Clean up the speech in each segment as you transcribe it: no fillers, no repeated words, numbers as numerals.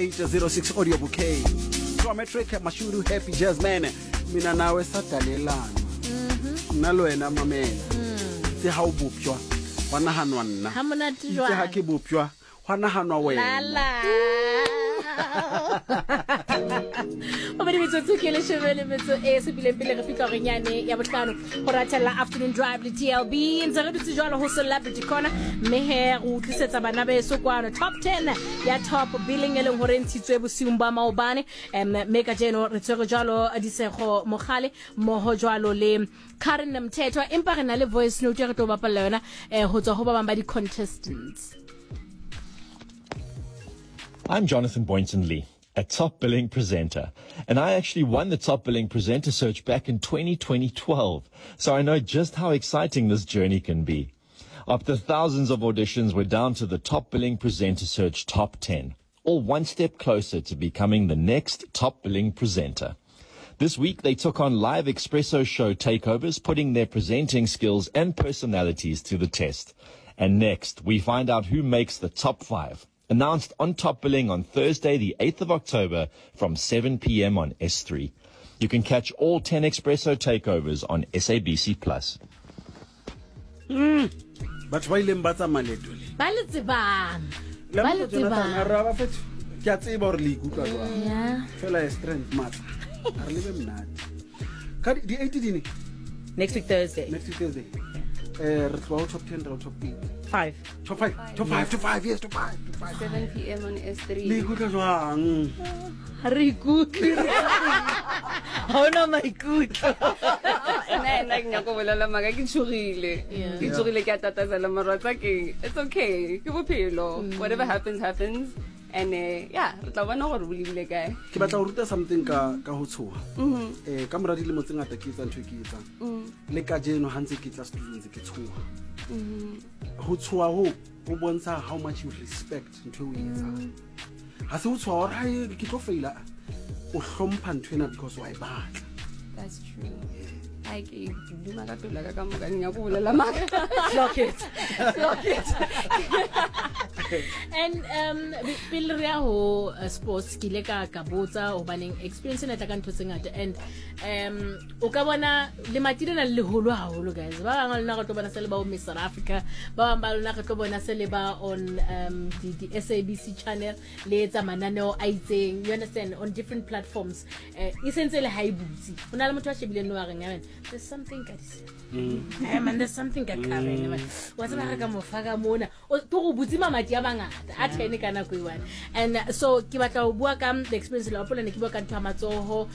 806 audio bouquet. Geometric Mashudu Happy Jazzman. Mina nawe sadalelana. Nna le wena mamela. Itse ha o bopjwa gwa naganwa nna. Ha monate Itse ha jwang? ke bopjwa gwa naganwa wena. Lala. Gobedi metsotso ke leshome le metso e supileng pele re fitlha horeng yane ya bohlano go rathella afternoon drive le tlb ntse re dutse jalo go celebrity corner mme he re utlwisetsa bana beso kwano top 10 ya top billing e leng gore e ntshitswe bosiung ba maobane um mme ka jeno re tshwere jalo disego mogale mmogo jalo le karen mthethwa empa re na le voice note e re tlo bapalla yona um go tswa go ba bangwe ba di-contestants. I'm Jonathan Boynton Lee, a top billing presenter, and I actually won the top billing presenter search back in 2012, so I know just how exciting this journey can be. After thousands of auditions, we're down to the top billing presenter search top 10, all one step closer to becoming the next top billing presenter. This week, they took on live Expresso show takeovers, putting their presenting skills and personalities to the test. And next, we find out who makes the top five. Announced on Top Billing on Thursday, the 8th of October from 7 p.m. on S3. You can catch all 10 Expresso takeovers on SABC Plus. Batho ba ileng ba tsamaya leeto le. Ba le tsebang. Ba le Jonathan, a tsebang. re a ba fetho. Ke a tseba gore le ikutlwa jwang. Yeah. Fela e strength matla. A re lebe monate. Ka di 8 di ne? Next week Thursday. Next week Thursday. Eh re tloha ho top 10 ra ho top 8. 5. Top 5. Top 5, top 5, yes, top 5, top 5. 7 p.m. on S3. Le ikutlwa jwang? Ha re ikutlwe. Ha ona maikutlo. Nna nna ke nyaka go bolela maaka ke tshogile. Yeah. Ke tshogile ke a tatazela mara tsa keng. It's okay. Ke bophelo. Whatever happens happens. And yeah, re tla bona gore bo lebile kae. Ke batla go ruta something ka ka ho tshoha. Eh ka mora dilemo tse ngata ke etsa ntho e ke e etsang. Le kajeno ha ntse ke tla studio ntse ke tshoha. Ho tshoha ho ho bontsha how much you respect ntho e o e etsang. Ha se ho tshoha hore hai ke tlo faila. O hlompha ntho ena because wa e batla. That's true. Ai ke duma ka pelo ya ka ka moka ke nyaka go bolela maaka. Lock it. Lock it. And pele re ya ho sports ke ile ka ka botsa hobaneng experience ena e tla ka ntho tse ngata and o ka bona lemati lena le leholo haholo guys. Ba bang ba lona re tlo bona se le ba ho Miss South Africa, ba bang ba lona re tlo bona se le ba on di SABC channel le etsa mananeo a itseng, you understand, on different platforms. E sentse le ha e butse. Ho na le motho a shebileng no a reng, "Man, there's something ka this. Man, there's something ka Karen, man. Wa tseba re ka mo fa ka mona." O ke go butse mamati a mangata a 10 ka nako e one. And so ke batla ho bua ka the experience la hopola ne ke bua ka ntho ya matsoho,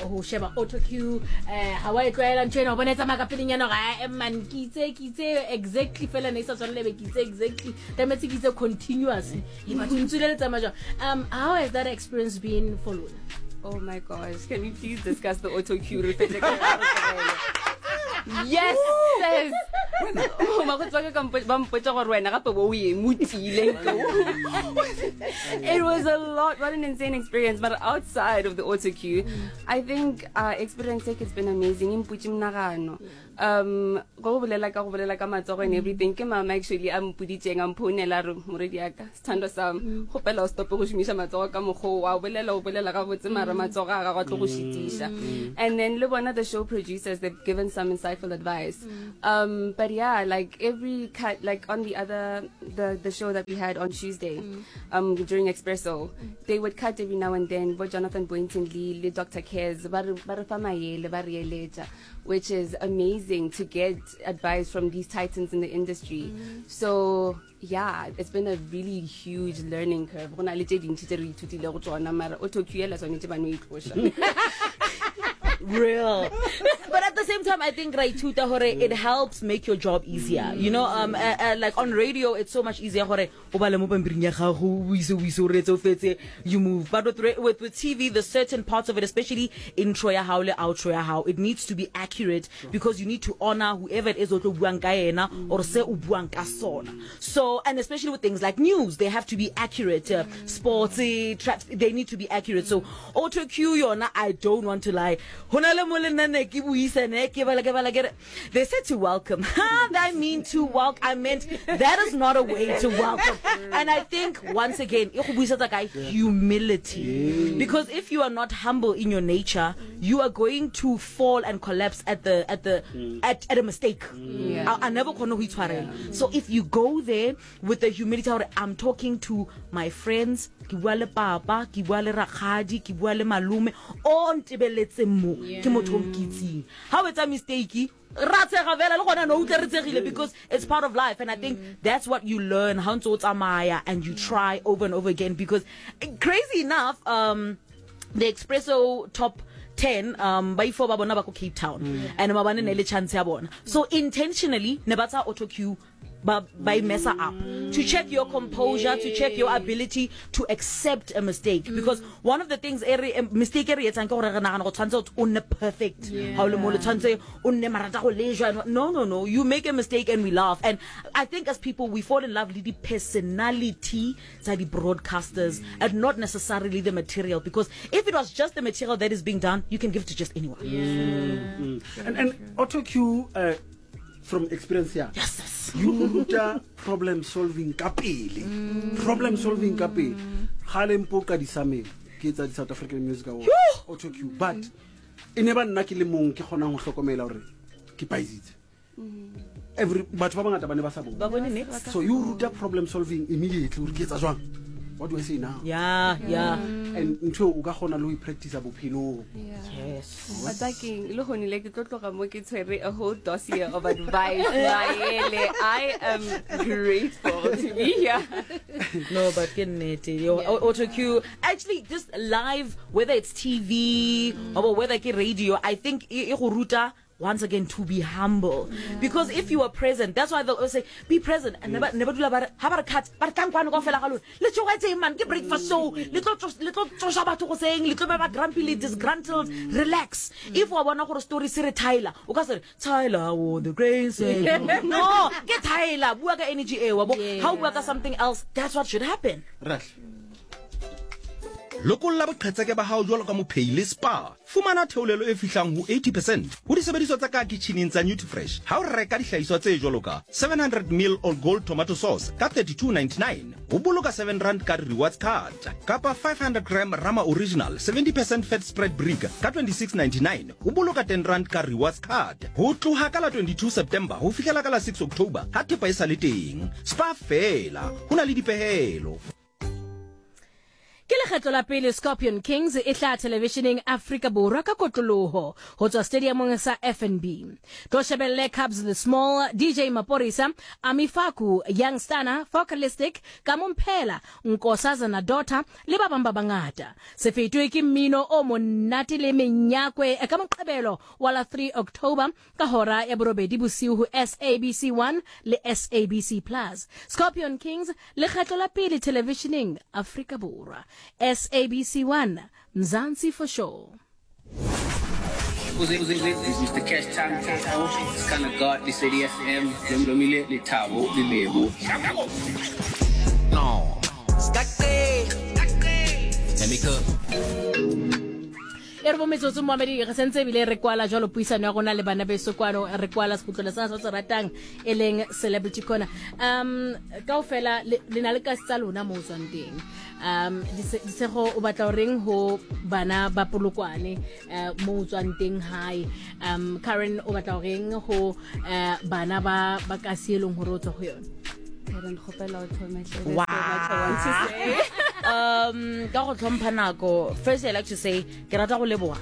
ho sheba auto cue, ha wa e tlwaela ntho ena, o bona e tsamaya ka pelenyana hore, "Ah, man, ke itse, ke itse exactly fela ne e sa tshwane le be ke itse exactly." Tlametse ke itse continuously. E batho ntse le tsamaya jwang. How has that experience been for lona? Oh my gosh, can we please discuss the auto cue? Re fetse ka yona, re tlogele. Yes, sis. Oh, bakgotsi ba ka ka ba mpotsa gore wena gape bo o eme o tiile. It was a lot, what an insane experience. But outside of the auto cue, I think experience it's been amazing. E mputse monagano. Go bolela ka go bolela ka matsogo and everything. Ke mama actually a mpoditseng, a mphounela a re, morwedi ya ka, sethandwa sa me, kgopela o stope go šomiša matsogo ka mokgwa o, wa bolela, o bolela gabotse, mara matsogo a gago a tlo go šitiša. And then le bona the show producers, they've given some insightful advice. But yeah, like every cut, like on the other, the show that we had on Tuesday, during Expresso, they would cut every now and then, bo Jonathan Boynton Lee, le Dr. Kez, ba re fa maele, ba re eletša, which is amazing to get advice from these titans in the industry. So yeah, it's been a really huge learning curve. Go na le tse dintsi tse re ithutilego tsona, mara auto cue ela tshwanetse ba no itloša. Real. But at the same time, I think ra ithuta hore it helps make your job easier. You know, like on radio, it's so much easier hore o bale mo pampiring ya gago, o ise, o ise, o reetse, o fetse, you move. But with TV, the certain parts of it, especially intro ya hao le outro ya hao, it needs to be accurate because you need to honor whoever it is o tlo buang ka yena or se o buang ka sona. So, and especially with things like news, they have to be accurate. Sports, they need to be accurate. So, auto cue yona, I don't want to lie. Ho na le mo le nna ne ke buisa And ke bala ke bala ke re, they said to welcome. I mean to welcome. I meant that is not a way to welcome. And I think once again, e go buisetsa kae? Humility. Because if you are not humble in your nature, you are going to fall and collapse at the at the at, at a mistake. Yeah. I never kgone go itshwarela. So if you go there with the humility hore I'm talking to my friends, ke bua le papa, ke bua le rakgadi, ke bua le malome o ntebeletseng mo, ke motho o nkitseng. Ha o etsa mistake, ra tshega fela le gona no utlwe re tshegile because it's part of life. And I think that's what you learn ha o ntse o tsamaya and you try over and over again. Because crazy enough, the Expresso top 10 ba ifo ba bona ba ko Cape Town, and mabane ne le chance ya bona, so intentionally ne ba tsa auto cue ba ba e messa up to check your composure, to check your ability to accept a mistake. Because one of the things e re mistake e re etsang ke gore re nagana go tshwanetse o nne perfect ha o le mo le tshwanetse o nne marata go lejwa. No, no, no, you make a mistake and we laugh. And I think as people we fall in love with the personality tsa di broadcasters and not necessarily the material, because if it was just the material that is being done, you can give it to just anyone. And auto cue, from experience here, yes, you ruta problem solving ka pele. Problem solving ka pele. Gale mpoka di sameng ke tsa di South African Music Awards auto cue, but e ne ba nna ke le mong ke kgonang ho hlokomela hore ke paisitse. Every batho ba bangata ba ne ba sa bone. Ba bone next. So you ruta problem solving immediately hore ke etsa jwang. What do I say now? Yeah. And ntho o ka kgona le ho practice bophelong. Yes. Wa tsa keng, le gone le ke tlo tloga mo ke tshwere a whole dossier of advice. Maele, I am grateful to be here. No, but ke nnete. Yo, auto cue actually just live, whether it's TV or whether ke radio, I think e go ruta once again to be humble. Because if you are present, that's why they'll always say be present and never never dula ba re ha ba re cut, ba re tlang kwano kaofela ga lona, le tshogetseng man, ke breakfast show, le tlo tsoša batho go seng, le tlo ba ba grumpy le disgruntled. Relax. If wa bona gore story se re Tyler, o ka se re Tyler won the grain no, ke Tyler, bua ka energy e wa bo ha o bua ka something else, that's what should happen. Right. Lokolla boqhetseke ba hao jwalo ka mophehi le Spar. Fumana theolelo e fihlang ho 80 percent ho disebediswa tsa ka kitjhining tsa Nutrifresh ha o reka dihlahiswa tse jwalo ka 700 ml All Gold tomato sauce ka 32.99, ho boloka 7 rand ka rewards card, kapa 500 gram Rama Original 70 percent fat spread brick ka 26.99, ho boloka 10 rand ka rewards card. Ho tloha ka la 22 September ho fihlela ka la 6 October ha thepa e sa le teng. Spar fela, ho na le dipehelo. Ke lekgetlo la pele Scorpion Kings e tla televisioneng Afrika Borwa ka kotloloho ho tswa stadiumong sa FNB. Tlo shebelle Cubs the Small, DJ Maporisa, Ami Faku, Young Stana, Focalistic, Kamumphela, Nkosazana Daughter le ba bang ba bangata. Se fetwe ke mmino o monate le menyakwe ka Moqebelo wa la 3 October ka hora ya 8 bosiu ho SABC 1 le SABC Plus. Scorpion Kings, lekgetlo la pele televisioneng Afrika Borwa. SABC 1, Mzansi for sure. Mr. Cash Time, it's kind of God, this ADSM, Lomile, Litabo, Lilebo. No. Let me cook. E re bo metsotso moamedi re sentse ebile re kwala jwalo puisano ya rona le bana beso kwano, re kwala sekgutlwana sa se ratang e leng Celebrity Corner. Kaofela le na le kasi tsa lona mo tswang teng. Disego o batla o reng ho bana ba Polokwane mo tswang teng hae? Karen o batla o reng ho bana ba kasi e leng hore o tswa ho yona? Karen, kgopela o thome hle. Wow. There's so much I want to say. Ka go tlhompha nako, first I like to say ke rata go leboha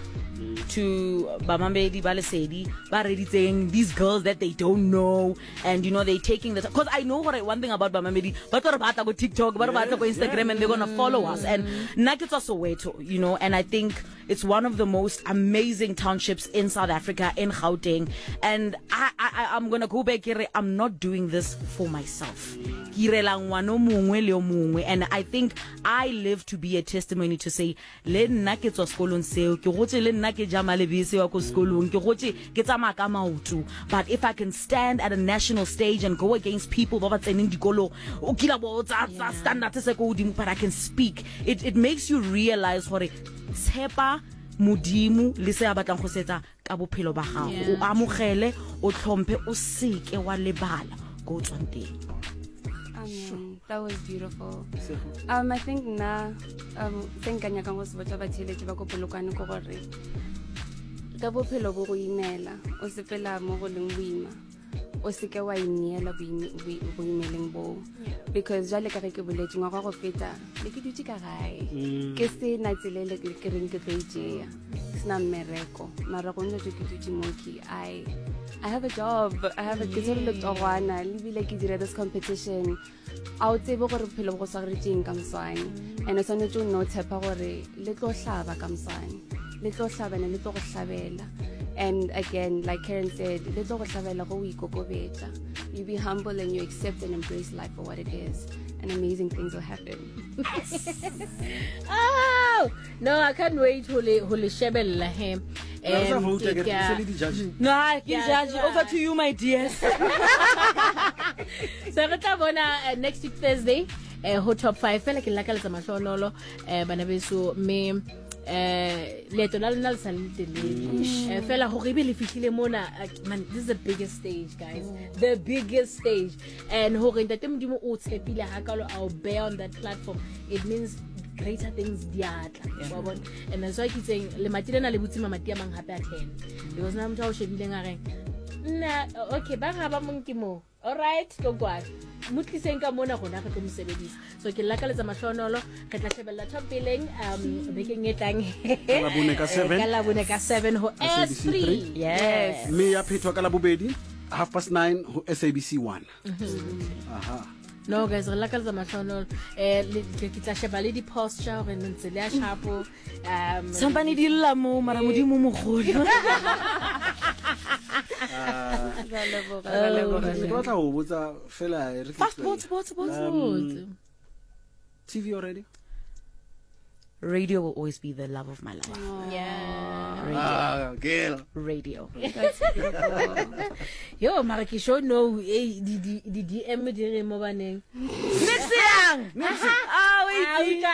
to bamamedi ba Lesedi ba reditseng these girls that they don't know, and you know they taking the, because I know what one thing about bamamedi, ba tlo re batla go TikTok, ba re batla go Instagram, and they're going to follow us. And nna ke tswa Soweto, you know, and I think it's one of the most amazing townships in South Africa, in Gauteng. And I'm going to go back here, I'm not doing this for myself. Ke irela ngwana o mongwe le o mongwe. And I think I live to be a testimony to say, le nna ke tswa sekolong seo, ke gotse le nna ke ja malebese wa ko sekolong, ke gotse ke tsamaya ka maoto. But if I can stand at a national stage and go against people ba ba tseneng dikolo, o kila bo tsa standard se ko godimo, but I can speak. It makes you realize gore tshepa Modimo le se a batlang go se etsa ka bophelo ba gago. O amogele, o tlhomphe, o seke wa lebala ko o tswang teng. Amen. That was beautiful. I think nna se nka nyakang go se botsa batheeletši ba ko Polokwane ke gore ka bophelo bo go imela, o sepela mo go leng boima, o seke wa ineela go imeleng boo, because jwale ka ge ke boletse ngwaga go feta le ke dutse ka gae, ke se na tsela e le ke reng ke tlo e tšea, ke sena mmereko, mara go ntse ke dutse mo ke I have a job, I have a ke tshwere letogwana le bile ke dira this competition. A o tsebe gore bophelo bo go swaretšeng ka moswane, and o swanetše o nne o tshepa gore le tlo hlaba ka moswane, le tlo hlabana, le tlo go hlabela. And again, like Karen said, le tlo go hlabela go o ikokobetša. You be humble and you accept and embrace life for what it is, and amazing things will happen. Oh no, I can't wait ho le shebella he. Re sa vote, ke re se le di-judge. No, ke Yeah, judge. Over to you, my dears. So re tla bona next week Thursday ho top 5. Fela ke lakaletsa mahlonolo bana beso, mme leeto la lona le sa le telele. Fela gore ebe le fihlile mona, man, this is the biggest stage, guys, the biggest stage, and hore ntate Modimo o tshepile hakalo a o bear on that platform, it means greater things di a tla, wa bona. And that's why ke itseng lemati lena le butse mamati a mang hape a 10, because na motho a o shebileng a reng nna, okay, ba ga ba mong ke mo, alright, tlo kwano mo tliseng ka mona, rona re tlo mo sebedisa. So ke lakaletsa mahlonolo, re tla shebella top billing bekeng e tlang. Ka Labone ka 7. Ka Labone ka 7 ho SABC S3. Yes. Mme ya phethwa ka Labobedi 9:30 ho SABC 1. Aha. No guys, re lakaletsa mahlonolo. Ke tla sheba le di-posture gore ntse le ya sharpo. Sampane di lla mo, mara Modimo mogolo. Re a leboga, re a leboga. Ke batla ho botsa fela re ke Fast, tlohele. botse, botse, botse. TV already? Radio will always be the love of my life. Yeah. Ah, girl. Radio. That's beautiful. Yo, mara ke sure no, eh, di DM di re mo baneng. Next yang. Ah, wait.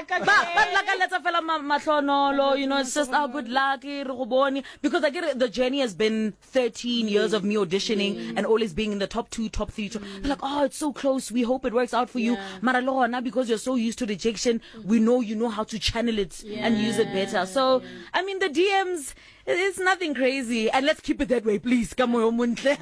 Ba lakaletsa fela mahlonolo, it's just our good luck, re go bone, because I get it, the journey has been 13 years of me auditioning and always being in the top 2, top 3. They're like, oh, it's so close, we hope it works out for you. Mara le gona, because you're so used to rejection, we know you know how to channel it and use it better. So, I mean, the DMs, it's nothing crazy, and let's keep it that way, please. Ka moyo o montle.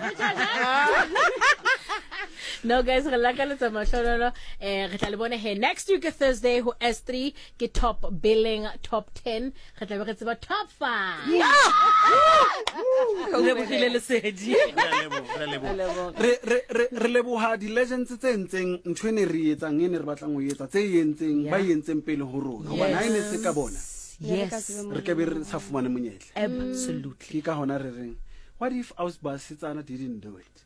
No guys, re lakaletsa mahlonolo. Re tla le bona he next week Thursday ho S3 ke top billing top 10, re tla be re tseba top 5. Lebogile lesedi. Re leboha. Re leboha di-legends tse entseng ntho e ne re etsang, e ne re batlang ho etsa, tse e entseng, ba e entseng pele ho rona, hobane ha e ne se ka bona, re ka be re sa fumane monyetla. Absolutely. Ke ka hona re reng, what if aus basetsana didn't do it?